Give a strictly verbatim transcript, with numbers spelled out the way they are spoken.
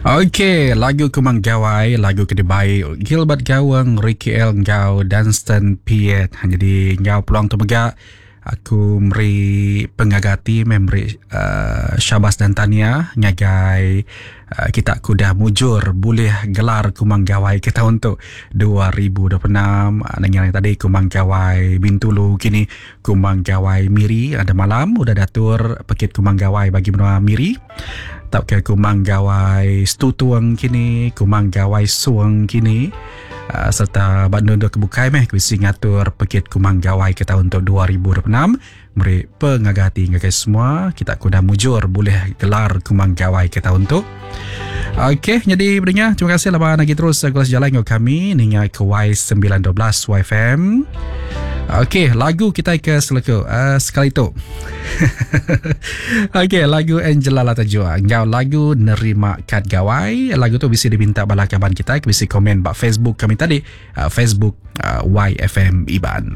Okey, lagu Kumang Gawai, lagu ke dibai Gilbert Gawang, Ricky L enggau Dunstan Piet. Jadi enggau peluang tu mega aku meri pengaga ati meh meri uh, syabas dan tania ngagai uh, kita ke udah mujur bulih gelar Kumang Gawai ke taun tu dua ribu dua puluh enam. Nengah tadi Kumang Gawai Bintulu, kini Kumang Gawai Miri. Ada malam udah datur pekit Kumang Gawai bagi menua Miri. Tauka Kumang Gawai Stutuang kini, Kumang Gawai Suang kini, uh, serta Bandung dua kebukai meh bisi ngatur pekit Kumang Gawai ke tahun untuk dua ribu dua puluh enam. Meri pengaga hati ngagai semua kita ku dah mujur boleh gelar Kumang Gawai ke tahun tu. Okey, jadi beringat terima kasih laban lagi terus kelas jalan dengan kami ninga ke Y sembilan dua belas Y F M. Okey, lagu kita ke seleku uh, sekali tu. Okey, lagu Angela Latajua ngau lagu Nerima Kad Gawai. Lagu tu bisa diminta bala kaban kita, bisa komen ba Facebook kami tadi, uh, Facebook uh, Y F M Iban.